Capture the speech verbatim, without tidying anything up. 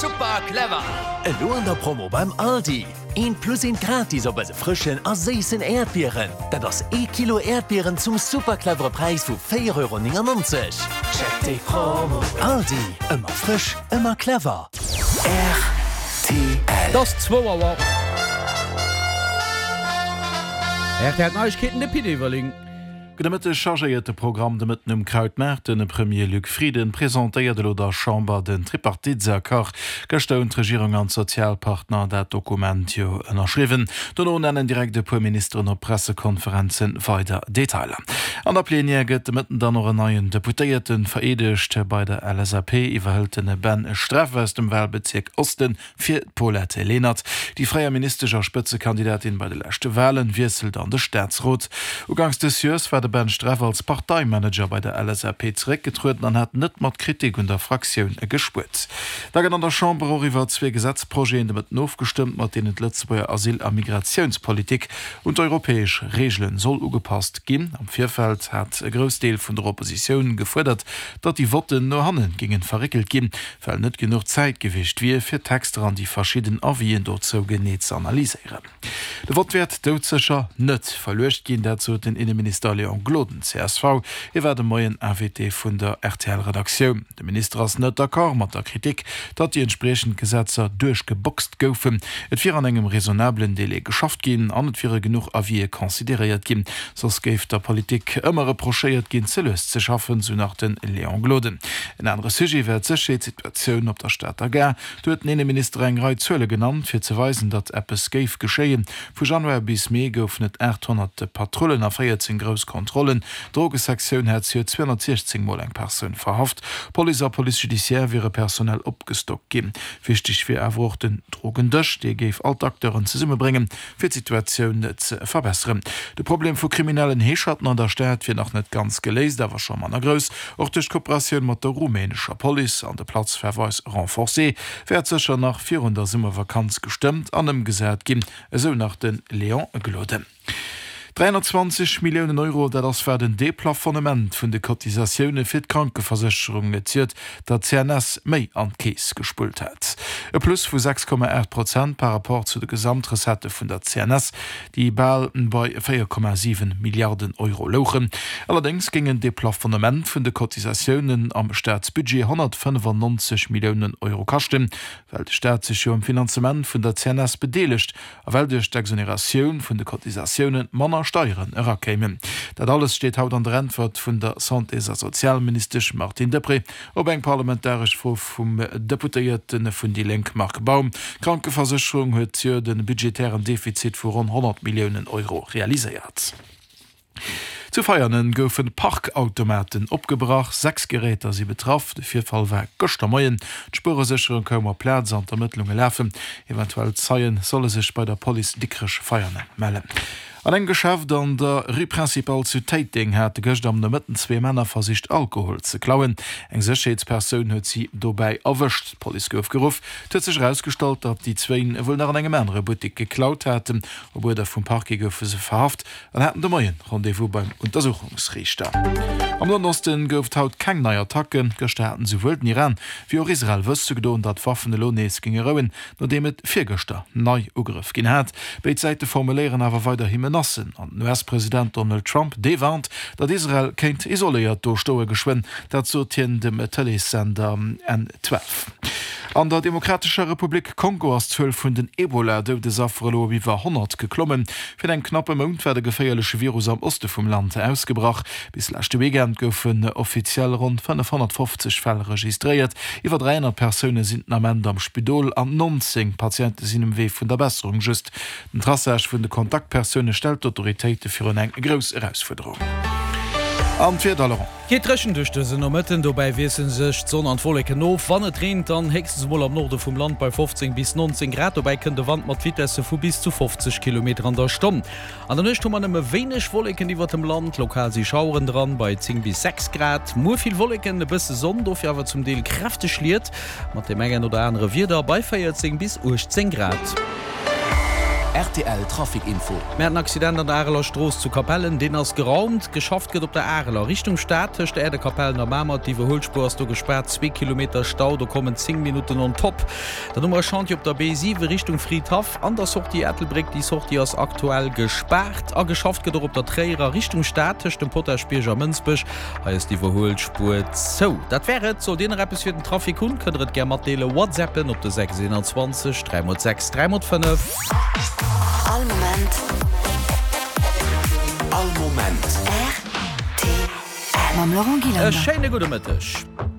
Super clever! Elo an der Promo beim Aldi, Eent plus eent gratis op eise frëschen a séissen Äerdbieren. Dat ass ee Kilo Äerdbieren zum super clevere Präis vu véier Euro néngennonzeg. Check déi Promo! Aldi, ëmmer frësch, ëmmer clever. Rtl. Et ass zwou Auer. R T L Neiegkeeten, de Pit Everling. Gudde Mëtteg. Chargéiert de Programm de Mëtten um Krautmaart. De Premier Luc Frieden presentéiert elo der Chamber den Tripartitesaccord. Gëschter hunn d'Regierung an d'Sozialpartner dat Dokument jo ënnerschriwwen. Dono nennen direkt e puer Ministeren op Pressekonferenze weider Detailer. An der Plenière gëtt de Mëtten dann och en neien Deputéierte vereedegt. Bei der L S A P iwwerhëlt den Ben Streff aus dem Wahlbezierk Osten fir d'Paulette Lenert. Déi fréier Ministesch a Spëtzekandidatin bei de leschte Wahlen wiesselt an de Staatsrot. Uganks des Joers war de Ben Streff als Parteimanager bei der L S A P zeréckgetrueden an hat net mat Kritik un der Fraktioun gespuert. Da gëtt an der Chamber och iwwer zwee Gesetzprojeten de Mëtten ofgestëmmt, mat deenen d'Lëtzebuerger Asyl a Migratiounspolitik un d'europäesch Reegele soll ugepasst ginn. Am Virfeld hat e Groussdeel vun der Oppositioun gefuerdert, datt déi Votten no hanne géinge verréckelt ginn, well net genuch Zäit gewiescht wier, fir d'Texter an déi verschidden Avisen dozou genee ze analyséieren. De Vott wäert doudsécher net verluecht ginn, dat sot den Inneminister Léon Gloden, C S V. Hie war de Moien Invité vun der R T L-Redaktioun. De Minister ass net d'accord mat der Kritik, datt déi entspriechend Gesetzer duerchgeboxt goufen. Et wier an engem raisonnablen Delai geschafft ginn an et wiere genuch Avisë consideréiert ginn. Soss géif der Politik ëmmer reprochéiert ginn, ze lues ze schaffen, sou nach de Léon Gloden. En anere Sujet war d'Sécherheetssituatioun op der Stater Gare. Do huet den Inneminister eng Rei Zuele genannt, fir ze weisen, datt eppes géif geschéien. Vu Januar bis Mee goufen et aathonnert Patrullen a véierzéng grouss Kontrollen. D'Drogesektioun hat zweehonnertsiechzéng Mol eng Persoun verhaft. Police a Police judiciaire wiere personell opgestockt ginn. Wichteg wier awer och den Drogendësch, dee géif all d'Acteuren zesummebréngen, fir d'Situatioun ze verbesseren. De Problem vu kriminellen Heescherten an der Stad wier nach net ganz geléist, awer scho manner grouss. Och duerch d'Kooperatioun mat der rumänescher Police an de Platzverweis renforcé wäert sécher nach virun der Summervakanz gestëmmt an ëmgesat ginn, esou nach de Léon Gloden. dräihonnertzwanzeg Milliounen Euro, dat ass wat en Deplafonnement vun de Cotisatioune fir d'Krankeversécherung zejoert der C N S méi an d'Keess gespullt hat. E Plus vu sechs Komma aacht Prozent par rapport zu de Gesamtrecettë vun der C N S, déi bal bei véier Komma siwen Milliarden Euro louchen. Allerdéngs géing en Deplafonnement vun de Cotisatiounen am Staatsbudget honnertfënnefannonzeg Milliounen Euro kaschten, well de Staat sech jo um Finanzement vun der C N S bedeelegt a well duerch d'Exoneratioun vun de Cotisatioune manner Steieren erakéimen. Dat alles steet haut an der Äntwert vun der Santés a Sozialministesch Martine Deprez op eng parlamentaresch Fro vum Deputéierte vun déi Lénk Marc Baum. D'Krankeversécherung huet zejoert e budgetären Defizit vu ronn honnert Milliounen Euro realiséiert. Zu Veianen goufen Parkautomaten opgebrach, sechs Geräter si betraff. De Virfall war gëschter Moien. D'Spueresécherung koum op d'Plaz an d'Ermëttlunge lafen. Eventuell Zeie solle sech bei der Police Dikrech-Veianen mellen. An engem Geschäft an der Rue Principale zu Téiteng hate gëschter am Nomëtten zwee Männer versicht Alkohol ze klauen. Eng Sécherheetspersoun huet si dobäi erwëscht. D'Police gouf geruff. Et huet sech erausgestallt, datt déi zwéin wuel nach an engem anere Buttek geklaut haten. Op Uerder vum Parquet goufe se verhaft an haten de Moien Rendez-vous beim Untersuchungsriichter. Am Noen Osten gouf et haut keng nei Attacken. Gëschter haten souwuel den Iran wéi och Israel wësse gedoen, datt d'Waffen elo nees géinge rouen, nodeem et virgëschter nei Ugrëff ginn hat. Béid Säite formuléieren awer weiderhi Menacen an den U S-President Donald Trump, dee warnt, datt Israel kéint isoléiert do stoe geschwënn. Dat sot hien dem Tëleessender N zwölf. An der Demokratescher Republik Kongo ass d'Zuel vun den Ebola-Doudesaffer elo op iwwer honnert geklommen. Virun engem knappe Mount war de geféierleche Virus am Oste vum Land ausgebrach. Bis leschte Weekend goufen offiziell ronn fënnefhonnertfofzeg Fäll registréiert. Iwwer dräihonnert Persoune sinn den Ament am Spidol an nonzéng Patiente sinn um Wee vun der Besserung. Just den Traçage vun de Kontaktpersoune stellt d'Autoritéite virun eng grouss Erausfuerderung. An d'Wieder, Laurent. Geet dréchen duerch dëse Nomëtten, dobäi wiessele sech d'Sonn an d'Wolleken of. Wann et reent, dann héchstens emol am Norde vum Land bei fofzéng bis nonzéng Grad. Dobäi kënnt e Wand mat Vitesse vu bis zu fofzeg Kilometer an der Stonn. An der Nuecht hu mer nëmme wéineg Wolleken iwwert dem Land, lokal si Schaueren dran, bei zéng bis sechs Grad. Muer vill Wolleken, e bësse Sonn, dofir awer zum Deel kräfteg Schliet mat deem engen oder anere Wieder bei véierzéng bis uechtzéng Grad. Rtl Trafic Info. Mir haten en Accident an der Areler Strooss zu Capellen, deen ass geraumt. Geschafft gëtt op der Areler Richtung Stad tëscht der Äerdekapellen a Mamer. D'Iwwerhuelspuer ass do gespaart, zwee Kilometer Stau, do kommen zéng Minutten on top. Dann hu mer e Chantier op der B siwe Richtung Fridhaff an der Sortie Ettelbréck, déi Sortie ass aktuell gespaart. A geschafft gëtt och op der Tréierer Richtung Stad tëscht dem Potaschbierg a Mënsbech. Hei ass d'Iwwerhuelspuer zou. Dat wär et. Sollt Dir nach eppes fir den Trafic hunn, kënnt der et gär matdeelen. Whatsappen op de sechs eenanzwanzeg dräi mol sechs dräi mol fënnef. All Moment. All Moment. Rtl. Mam Laurent E Gillander. schéine gudde Mëtteg.